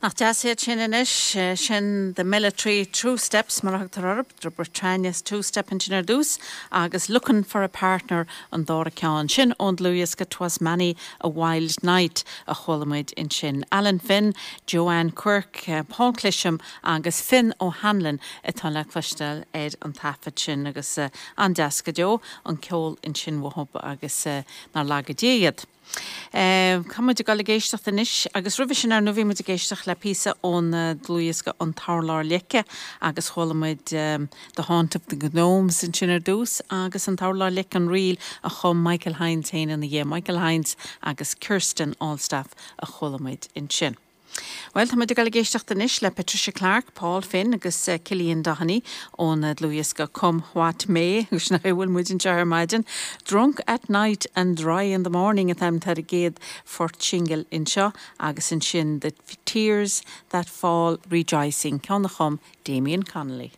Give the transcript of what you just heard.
Nach deas iad sin anois? Sin The Military Two Steps mar a thugtar orthu, The Britannias Two Step ansin ar dtús agus Lookin' for a Partner an dara ceann. Sin ón dlúthdhiosca 'Twas Many a Wild Night a chuala muid ansin. Alan Finn, Joanne Quirke, Paul Clisham agus Finn O'Hanlon atá le cloisteáil ar an taifead sin agus an-deas go deo an ceol ansin uathu agus nár laga Dia iad. Tá muid ag dul ag éisteacht anois agus roimhe sin ar ndóigh bhí muid ag éisteacht le píosa ón dlúthdhiosca An tUrlár Leice agus chuala muid The Haunt of the Gnomes ansin ar dtús agus An tUrlár Leice an ríl a chum Michael Hynes féin ina dhiaidh, Michael Hynes agus Kirsten Allstaff a chuala muid ansin. Bhuel, tá muid ag dul ag éisteacht anois le Patricia Clarke, Paul Finn agus Cillian Doheny ón dlúthdhiosca Come What May, agus sin a bhfuil muid anseo ar maidin. Drunk at Night and Dry in the Morning an t-ainm atá ar an gcéad phort singil anseo agus ansin The Tears That Fall Rejoicing, ceann a chum Damien Connolly.